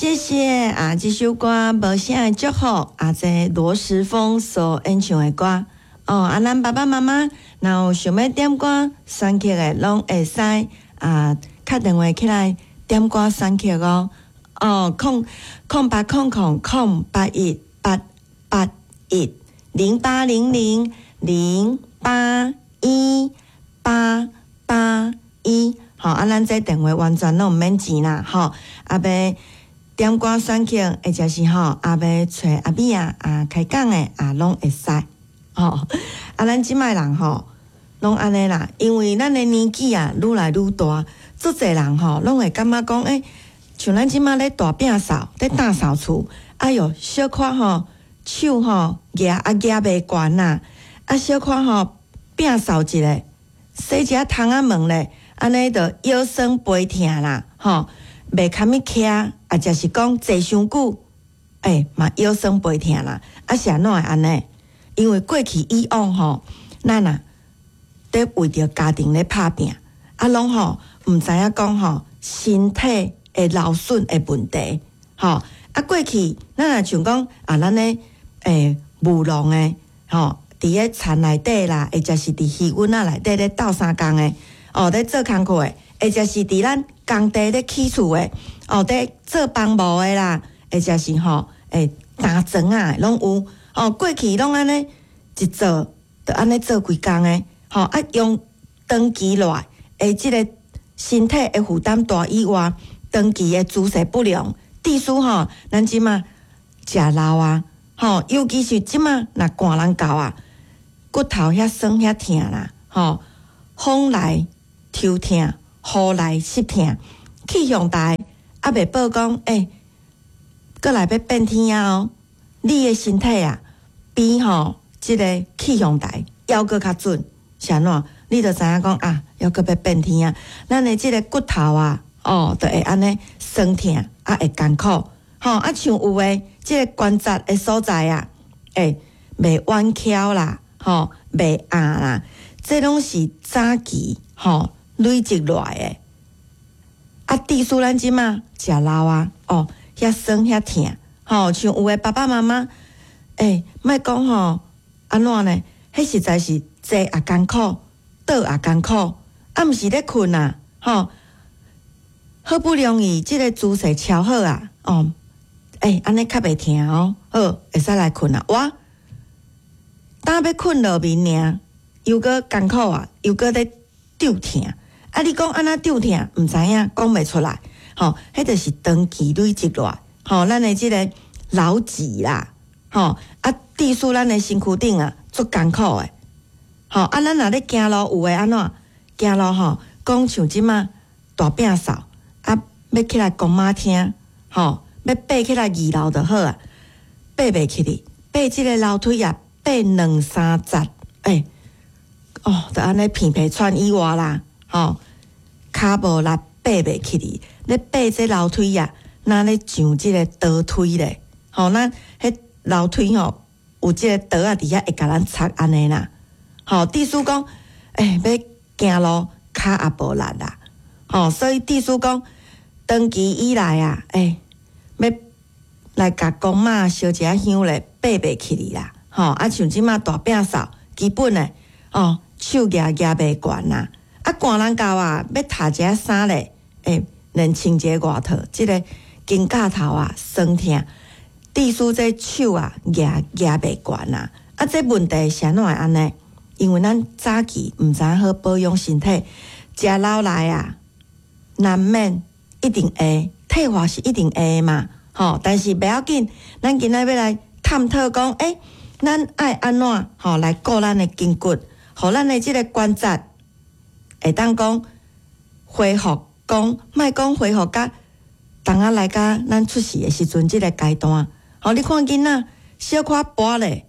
謝謝啊！這首歌無聲的祝福啊，這羅時豐所演唱的歌哦。啊，咱爸爸媽媽若有想欲點歌選曲的，攏會使啊，敲電話起來點歌選曲哦。哦，0080000818810800081881。吼，啊，咱這電話完全攏毋免錢啦，吼，啊，欲點歌選曲，或者是吼，啊，欲揣阿美仔啊開講的啊，攏會使。吼，啊，咱這擺人吼，攏按呢啦，因為咱的年紀啊，愈來愈大，足濟人吼，攏會感覺講，欸，像咱這擺咧大摒掃，咧打掃厝，哎喲，小可吼，手吼舉啊舉袂懸啦，啊，小可吼摒掃一下，洗一下窗仔門咧，按呢就腰酸背疼啦，吼，袂堪物徛，啊，者是講坐傷久，欸，嘛腰酸背疼啦，啊是按怎會按呢？因為過去以往吼，咱啊，佇為著家庭咧拍拚，啊，攏吼毋知影講吼身體會勞損的問題，吼啊過去咱若像講啊，咱咧務農的吼，佇咧田內底啦，或者是佇魚塭仔內底咧鬥相共的，哦，咧做工課的，或者是佇咱工地咧起厝的，哦，佇做房務的啦，或者是吼擔磚仔攏有，哦，過去攏按呢一做，就按呢做規工的，吼啊用長期落來，的這个身體的負擔大以外，長期的姿勢不良，致使吼，咱這馬食老啊，吼，尤其是這馬若寒人到啊，骨頭遐酸遐疼啦，吼，風來抽疼，雨來濕疼，氣象台猶未報講，欸，閣來欲變天啊哦，你的身體啊，比吼這个氣象台猶閣較準，是按怎？你就知影講啊，猶閣欲變天啊，咱的這个骨頭啊，哦，就會按呢酸疼，啊會艱苦，吼啊像有的這个關節的所在啊，欸，袂彎翹啦，吼，袂壓啦，這攏是早期吼累積落來的。啊，致使咱這馬食老啊，哦，遐酸遐疼，吼，像有的爸爸媽媽，欸，莫講吼，按怎呢？彼實在是坐也艱苦，倒也艱苦，啊，毋是咧睏啊，吼。好不容易這个姿勢調好啊，哦，欸，按呢較袂疼哦，好，會使來睏啊。哇，當欲睏落眠爾，又閣艱苦啊，又閣咧吊疼。啊，你講按怎吊疼，毋知影，講袂出來。吼，彼就是長期累積落來，吼，咱的這个勞疾啦，吼，啊，致使咱的身軀頂啊，足艱苦的。吼，啊，咱若咧行路有的按怎？行路吼，講像這馬大摒掃。啊，欲起來公媽廳，吼，欲爬起來二樓就好啊，爬袂起去，爬這个樓梯啊，爬兩三節，欸，哦，就按呢鼻鼻喘以外啦，吼，跤無力爬袂起去，咧爬這樓梯啊，若咧上這个倒梯咧，吼，咱彼樓梯吼有這个桌仔佇遐會共咱插按呢啦，吼，致使講，欸，欲行路跤也無力啦。吼，所以致使講，長期以來啊，欸，欲來共公媽燒一下香咧，爬袂起去啦。吼，啊，像這馬大摒掃，基本的哦，手舉舉袂懸啦。啊，寒人到啊，欲脫一下衫咧，欸，連穿一个外套，這个肩胛頭啊酸疼，致使這手啊舉舉袂懸啦。啊，這問題是按怎會按呢？因為咱早期毋知影好保養身體，食老來啊。難免一定會退化，是一定會的嘛，吼！但是袂要緊，咱今仔欲來探討講，欸，咱愛按怎吼來顧咱的筋骨，予咱的這个關節會當講恢復，講莫講恢復甲當仔來甲咱出世的時陣這个階段。吼，你看囡仔小可跋咧，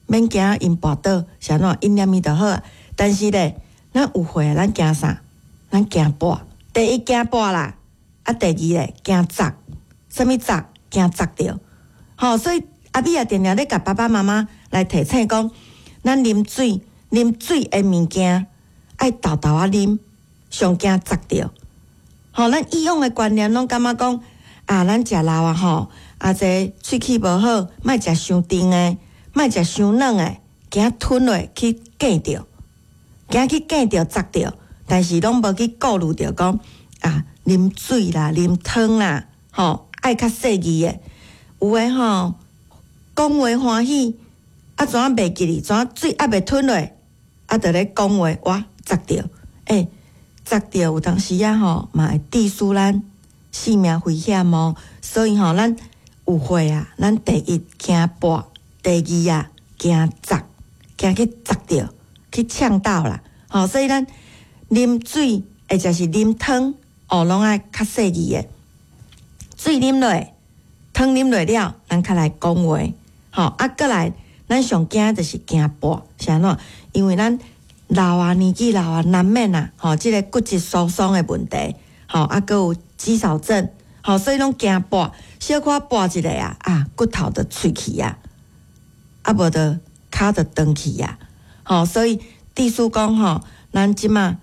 免驚𪜶跋倒，是按怎？𪜶念伊就好啊。但是咧，咱有歲，咱驚啥？咱驚跋。第一驚跋啦，啊，第二咧驚砸，啥物砸？驚砸著，吼，所以阿美也定定咧共爸爸媽媽來提醒講，咱啉水，啉水的物件愛沓沓仔啉，上驚砸著。吼，咱以往的觀念攏感覺講，啊，咱食老啊吼，啊這喙齒無好，莫食傷甜的，莫食傷軟的，驚吞落去哽著，驚去哽著齧著，但是攏無去顧慮著講啊，啉水啦，啉湯啦，吼，愛較細膩的。有的吼，講話歡喜，啊怎啊袂記哩？怎啊水猶未吞落，啊就咧講話，哇，齧著，欸，齧著有當時啊吼，嘛會致使咱性命危險哦。所以吼，咱有歲啊，咱第一驚跋，第二啊驚齧，驚去齧著，去嗆到啦。吼，所以咱啉水或者是啉湯，哦，攏愛較細膩的。水啉落，湯啉落了，咱較來講話。吼，啊，閣來，咱上驚就是驚跋，是按怎？因為咱老啊，年紀老啊，難免啊，吼，這個骨質疏鬆的問題，吼，啊，閣有肌少症，吼，所以攏驚跋，小可跋一下啊，啊，骨頭就脆去啊，啊，無就跤就斷去啊，吼，所以醫師講吼，咱這馬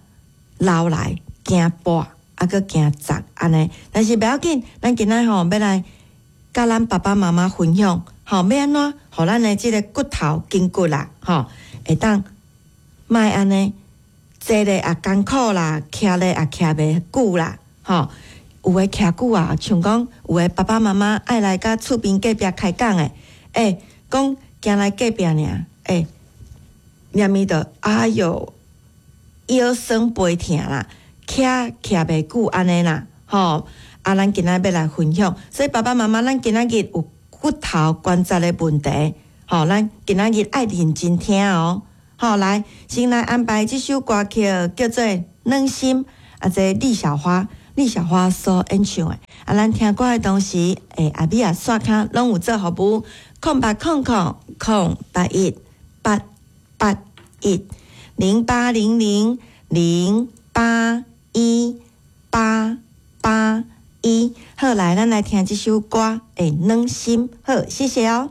老來驚跋，啊，閣驚齧按呢，但是袂要緊，咱今仔吼欲來佮咱爸爸媽媽分享，吼，欲按怎，予咱的這個骨頭筋骨啦，吼，會當莫按呢坐咧也艱苦啦，徛咧也徛袂久啦，吼，有的徛久啊，像講有的爸爸媽媽愛來佮厝邊隔壁開講的，欸，講行來隔壁爾，欸，連伊就哎喲腰酸背疼啦，徛徛袂久按呢啦，吼，啊，咱今仔欲來分享，所以爸爸媽媽，咱今仔日有骨頭關節的問題，吼，咱今仔日愛認真聽哦。好，來，先來安排這首歌曲，叫做《軟心》，啊，這李小花，李小花所演唱的。啊，咱聽歌的同時，欸，阿美仔線跤攏有做服務，0800 081 881，0800 081 881。好，來，咱來聽這首歌，欸，軟心，好，謝謝哦。